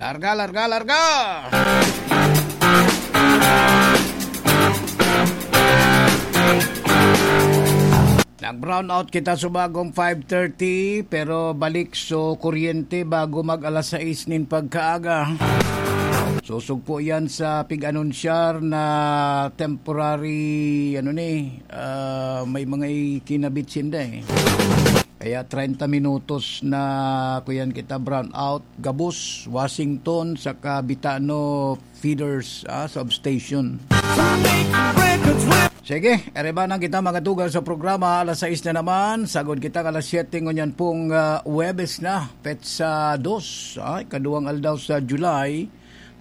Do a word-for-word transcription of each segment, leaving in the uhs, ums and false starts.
Larga, larga, larga! Nag-brown out kita sa bagong five thirty, pero balik so kuryente bago mag alas sais nin pagkaaga. Susugpo yan sa pig-anunsyar na temporary, ano ni, ah, may mga ikinabit sinda eh. Kaya treinta minutos na kuyan kita brown out, gabos, Washington, saka Bitano feeders, ah, substation. Sige, ere ba nang kita magatugang sa programa, alas sais na naman, sagod kita alas siyete ngunyan pong, ah, Huwebes na, petsa dos, ah, ikaduwang aldaw sa July,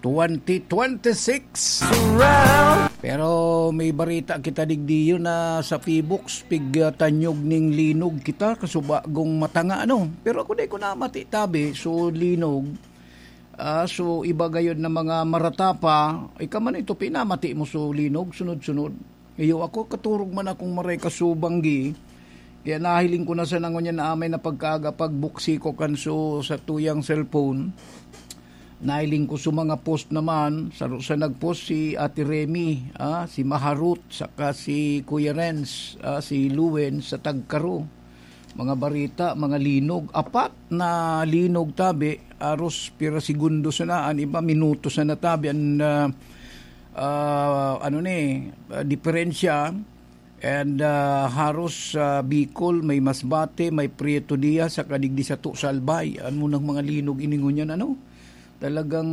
twenty twenty-six. Pero may barita kita digdiyo na sa Pibox, pig, ah, tanyog ning linog kita, kasubagong matanga, ano. Pero ako di ko namati, tabi, so linog, ah, so iba gayod na mga maratapa, ika man ito, pinamati mo so linog, sunod-sunod. Iyo ako, katurog man akong maray kasubanggi, kaya nahiling ko na sa nangonyan na amay na pagkaaga pagbuksi ko kan so sa tuyang cellphone. Nahiling ko sa mga post naman, saro sa nag-post si Ate Remy, ah, si Maharut, saka si Kuya Renz, ah, si Luen sa Tagkaro. Mga barita, mga linog. Apat na linog tabi, aros pira segundo sana, an iba minuto sana tabi, an, ah, ah, ano ni, ah, diferensya. And, ah, haros sa Bicol, may Masbate, may Prieto Diaz, saka digdi sato sa Albay. Ano nang mga linog ini ngunyan, ano? Talagang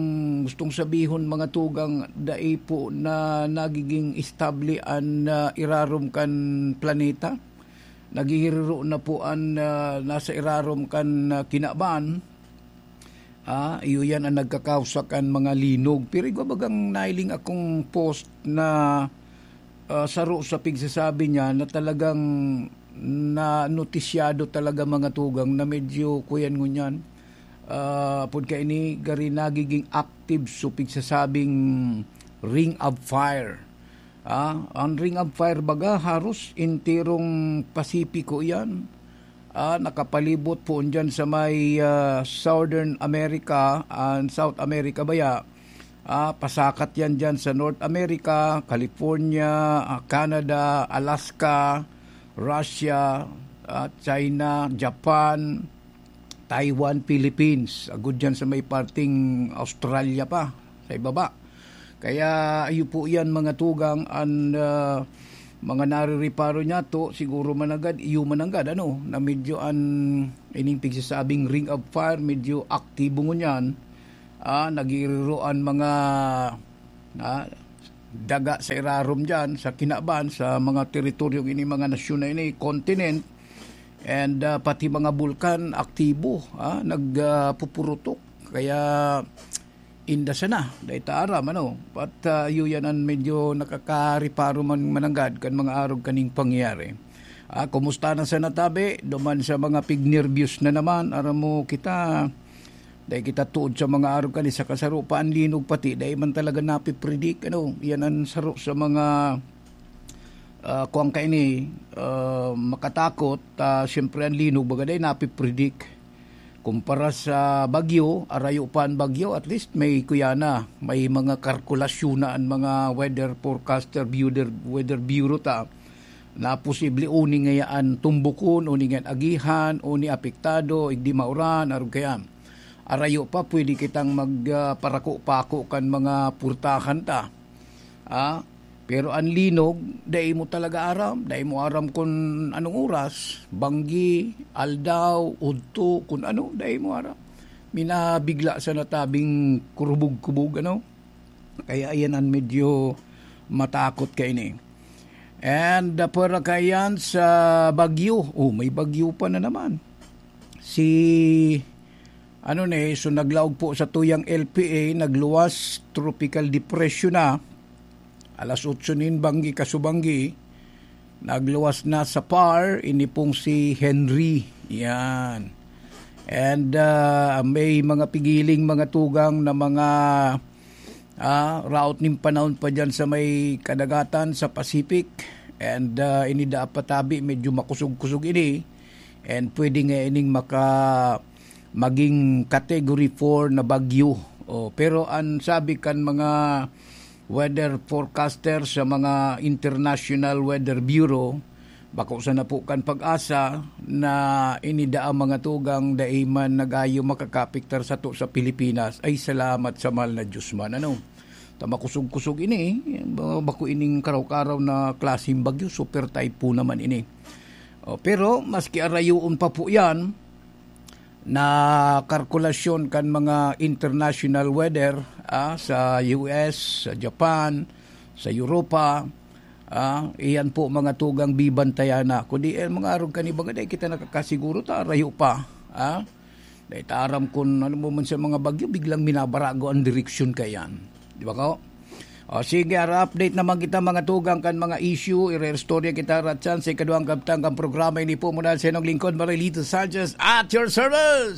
gustong sabihon, mga tugang, dai po na nagiging estable an, ah, irarom kan planeta. Naghihiriro na po an, ah, nasa irarom kan, ah, kinaban. Ah, iyo yan ang nagkakausa kan mga linog. Pero igwa bagang nailing akong post na, ah, saro sa pigsasabi niya na talagang nanotisyado talaga, mga tugang, na medyo kuyan ngunyan. Ah, apod kaini, gari nagiging active so pigsasabing Ring of Fire. Ah, ang Ring of Fire baga, haros enterong Pasipiko yan. Ah, nakapalibot po dyan sa may, ah, Southern America and South America baya. Ah, pasakat yan dyan sa North America, California, ah, Canada, Alaska, Russia, ah, China, Japan, Taiwan, Philippines. Agud dyan sa may parting Australia pa, sa ibaba. Kaya iyo po yan, mga tugang, an, ah, mga narireparo niya to, siguro mananggad, iyo mananggad, ano, na medyo an ining pigsasabing Ring of Fire, medyo aktibo ngunyan. Ah, nagiriro an mga, ah, daga sa irarom dyan, sa kinaban, sa mga teritoryong ini, mga nasyon na ini, continent, and, ah, pati mga bulkan, aktibo, ah, nag, ah, pupurutok. Kaya, inda sana, dai ta aram, ano? At, ah, iyo yan an medyo nakakareparo man mananggad kan mga arog kaning pangyayari. Ah, kumusta na sana tabi? Duman sa mga pignerbiyos na naman, aram mo kita, dai kita tuod sa mga arog kani, saka saro pa an linog pati, dai man talaga napipredict, ano? Yan an saro sa mga, ah, kuwang kaini, ah, makatakot, ah, siyempre an linog baga dai napipredict. Kumpara sa bagyo, arayo pa an bagyo, at least may kuya na, may mga kalkulasyon na an mga weather forecaster, weather, weather bureau ta, na posible uni ngayaan tumbukon, uni ngayan agihan, uni apektado, igdi mauran, arog kaya. Arayo pa, pwede kitang mag, ah, parako-pako kan mga purtahan ta. Ah, pero an linog, dai mo talaga aram. Dai mo aram kun anong oras, banggi, aldaw, udto, kun ano, dai mo aram. Minabigla sa natabing kurubog-kubog, ano? Kaya ayan an medyo matakot kaini. And, ah, pwera kayan sa bagyo. Oh, may bagyo pa na naman. Si, ano ni, so naglaog po sa tuyang L P A, nagluwas, tropical depression na. Alas otso nin banggi, kasubanggi, nagluwas na sa par, ini pong si Henry. Yan. And, ah, may mga pigiling mga tugang na mga, ah, raot nin panahon pa dyan sa may kadagatan, sa Pacific. And, ah, ini daa pa tabi, medyo makusog-kusog ini. And pwede nga ining maka-, maging category four na bagyo. Oh, pero ang sabi kan mga weather forecaster sa mga International Weather Bureau, bako sana po kan PAGASA na ini daa mga tugang dai man nagayo makakapektar sato sa Pilipinas. Ay, salamat sa mahal na Diyos man, ano. Ta makusog-kusog ini, ba-, bako ining karaw-karaw na klaseng bagyo, super typhoon naman ini. Oh, pero maski arayoon pa po yan, na kalkulasyon kan mga international weather, ah, sa U S, sa Japan, sa Europa, ah, iyan po mga tugang bibantayan na. Kundi, eh, mga arog kan iba nga, dai kita nakakasiguro, ta rayo pa, ah. Dai ta aram kun ano mo man sa mga bagyo, biglang minabarago ang direksyon kayan. Di ba ko? O sige, ara update naman kita mga tugang kan mga issue, ire-istorya kita ratsan sa ikaduhang kabtang kan programa. Ini po muna sa inong lingkod, Marilito Sanchez, at your service!